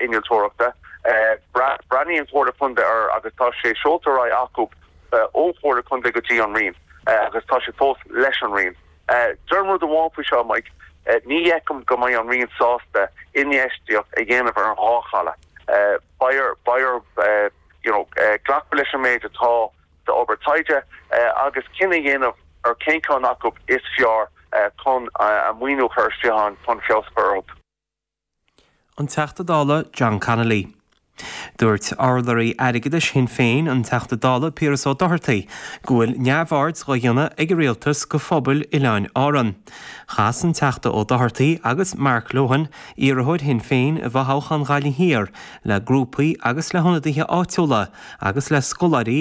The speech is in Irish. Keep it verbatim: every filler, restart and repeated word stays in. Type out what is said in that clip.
innealtóireachta. Breathnaíonn Comhairle Contae air agus tá sé seolta ar aghaidh acu ón Chomhairle Contae go dtí an Roinn agus tá sé fós leis an Roinn. Deirim rud amháin faoi seo Mike, ní fheicim go mbeidh an Roinn sásta infheistíocht a dhéanamh ar an dhá chaladh. Beidh beidh you know, glacadh leis an méid atá d'obair taighde agus cinneadh a dhéanamh ar cén ceann acu is fearr chun a maoiniú chur isteach chun feabhas a chur orthu. An Teachta Dála John Connolly. Dúirt urlabhraí airgeadais Shinn Féin an Teachta Dála Piaras Ó Dochartaigh go bhfuil neamhaird á dhéanamh ag an rialtas go phobail Oileáin Árann. Chas an Teachta Ó Dochartaigh agus Mark Lohan, iarrthóir Shinn Féin i bhfothoghchán Ghaillimh Thiar, le grúpaí agus le hionadaithe áitiúla agus le scoláirí